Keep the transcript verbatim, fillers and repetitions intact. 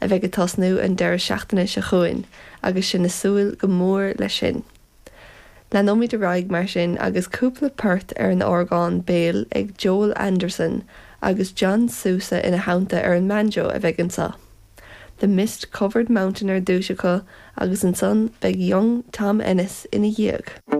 a bheidh ag tosnú an deireadh seachtaine seo chugainn agus sinn ag súil go mór leis sin. Leanfaimid ar aghaidh mar sin agus cúpla port ar an orgán béil ag Joel Anderson agus John Sousa ina theannta ar an mbanjo a bheidh anseo. The Mist Covered Mountain ar dtús acu agus ansan beidh Young Tom Ennis ina dhiaidh.